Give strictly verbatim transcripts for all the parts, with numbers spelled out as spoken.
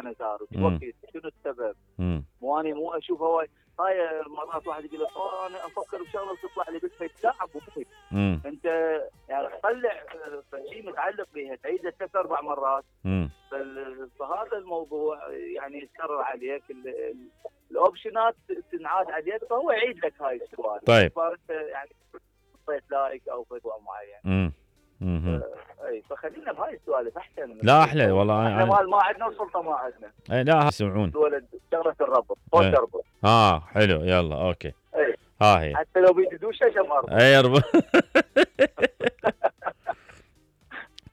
هنا صار وتوكل شنو السبب؟ مو اني مو اشوف هواي هاي مرات واحد يقول لك اه انا افكر بشغله تطلع لي بس تلعب ومخي انت يعني تطلع شيء متعلق بها تعيده ثلاث اربع مرات فهذا الموضوع يعني يتكرر عليك الاوبشنات تنعاد عليك فهو يعيد لك هاي السؤال. طيب يعني حطيت لايك او فتوى معين. امم اي فخلينا بهاي السوالف احسن. لا احلى والله احنا ما ما عندنا وسلطه ما عندنا. اي لا يسمعون ولد شغله الربط فوق تربط. اه حلو يلا اوكي. اي ها هي حتى لو بيدوش شجم اربط. اي اربط.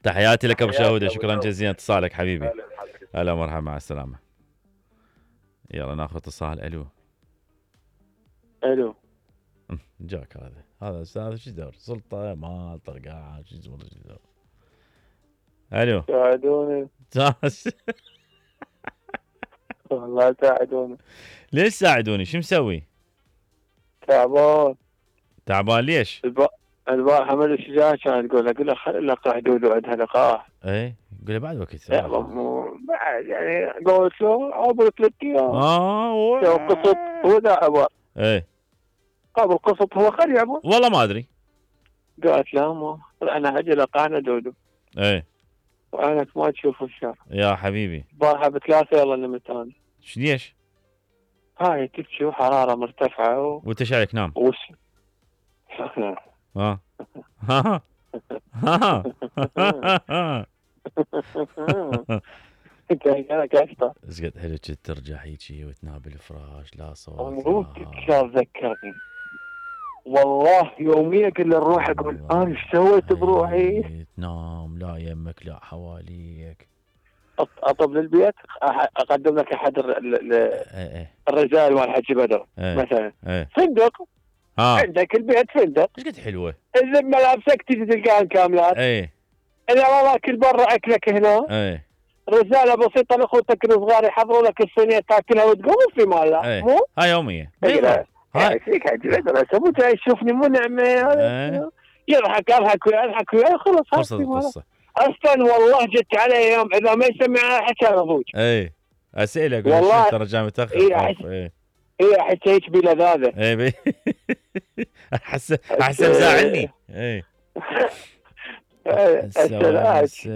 تحياتي لك ابو شهوده شكرا جزيلا اتصالك حبيبي. هلا مرحبا مع السلامه. يلا ناخذ اتصال. الو الو جاك هذا هذا استاذ شو دور سلطه ما طرقاع شو اسمه شو دور. الو ساعدوني والله ساعدوني. ليش ساعدوني شو مسوي؟ تعبان. تعبان ليش؟ البارحة حمد الشجاع كان تقول له قل له خلي لقاح دودو عندها لقاح. ايه قول له بعد وقت. بعد يعني قلت له عبر ثلاث ايام. اه قصط هو ذا عبر. ايه قبل قصط هو خلي عبر. والله ما ادري. قالت لا ما انا هجي لقاحنا دودو. ايه وعينك ما تشوف الشر. يا حبيبي. البارحة بثلاثة يلا نمت انا. ايش ليش؟ هاي تبكي وحرارة مرتفعة و... وانت شايك نام. وش ها ها ها ها ايش قد حلو كنت ترجع هيجي وتنام بالفراش لا صوت. مبروك شو ذكرني والله يوميا كل نروح اقول انا ايش سويت بروحي. تنام لا يمك لا حواليك. اطب للبيت اقدم لك احد الرجال مال حجي بدر مثلا فندق. ها عندك البيت فندق ايش قد حلوه. اذا ملابسك تجي تلقاها كاملات. ايه اذا ما باكل برا اكلك هنا. ايه رساله بسيطه لاخوتك الصغار يحضروا لك الصينيه تاكلها وتقوم في مالها. ايه. مو هاي يوميه. هاي فيك حجي بدر مو جاي يشوفني مو نعمه. ايه. يضحك اضحك ويا اضحك ويا خلص خلصت القصه. اصلا والله جت علي يوم اذا ما يسمع حكى ابوك. اي اسئله اقول والله ترى جاي متاخر. اي اي احس هيك بلذاذه. اي بي احس احس مزعلني. اي احس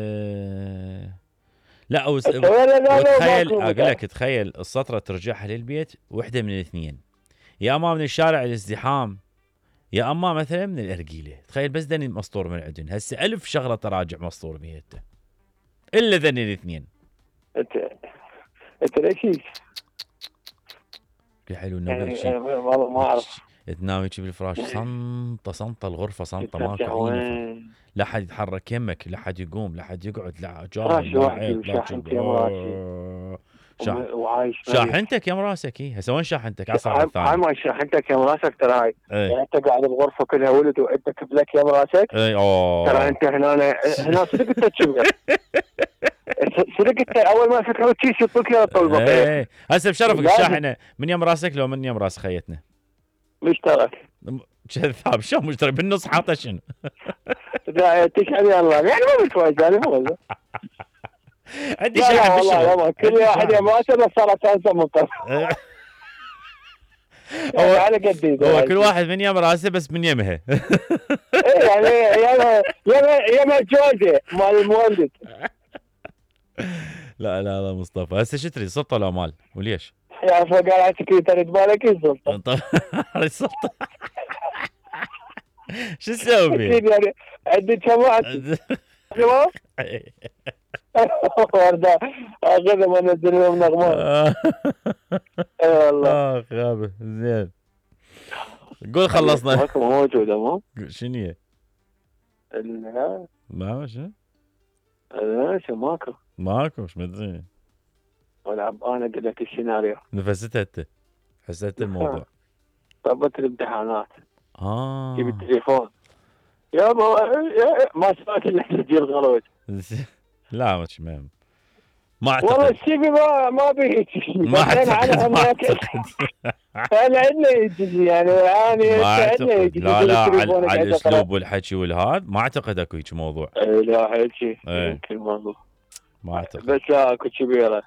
لا وس... وتخيل اقول لك تخيل السطره ترجعها للبيت وحده من الاثنين يا اما من الشارع الازدحام يا اما مثلا من الارجيله. تخيل بس دني مسطور من عندن هسه ألف شغله تراجع مسطور بيته الا ذني الاثنين. انت انت ليش حلو انه يعني شيء والله ما اعرف تنام هيك بالفراش صنطه صنطه الغرفه صنطه ماكو اي لا حد يتحرك يمك لا حد يقوم لا حد يقعد لا جار شاح... شاحنتك يا مراسك. اي هسه وين شاحنتك على الصف الثاني؟ هاي ما شاحنتك يا مراسك ترى هاي. يعني انت قاعد بغرفه كلها ولد وانت كبلك يا مراسك. اي اوه ترى انت هنا هنا صدق انت تشبه صدق انت اول ما فكرت شيء يطلق يا طلبه. اي هسه بشرفك الشاحنه من يم راسك لو من يم راس خيتنا مشترك كذاب. شو مشترك بالنص حاطه شنو؟ لا تشحن يلا يعني مو متواجد يعني مو عندي شاحن بالشغل كل واحد يا ماسه بس صارت انسى مطر. هو على قد هو كل واحد من يم راسه بس من يمها. يعني يا يا يا جوزه مال المولد. لا لا لا مصطفى هسه شو تريد سلطه ولا مال وليش؟ يا فقال عندك تريد مالك السلطه. السلطه شو تسوي؟ يعني عندي كم واحد تمام؟ ورده اخذ ما نزل لهم نغمات. اي والله اخ غابه زين. قول خلصنا. ماكو موجوده مو؟ شنو هي؟ لا ما شنو؟ لا شو ماكو ماكو مش مدري. والعب انا اقول لك السيناريو. نفستها انت حسيت الموضوع. طبت الامتحانات. اه جيب التليفون يا ما ما سمعت الا تسجيل غلط. لا مش مهم ما اعتقد والله السي في ما ما بي ما اعتقد ما اعتقد انا عندنا يجي يعني يعني ما اعتقد لا لا على, على الاسلوب والحكي والهذا ما اعتقد اكو هيك موضوع. لا حكي يمكن موضوع ما اعتقد بس لا اكو كبيره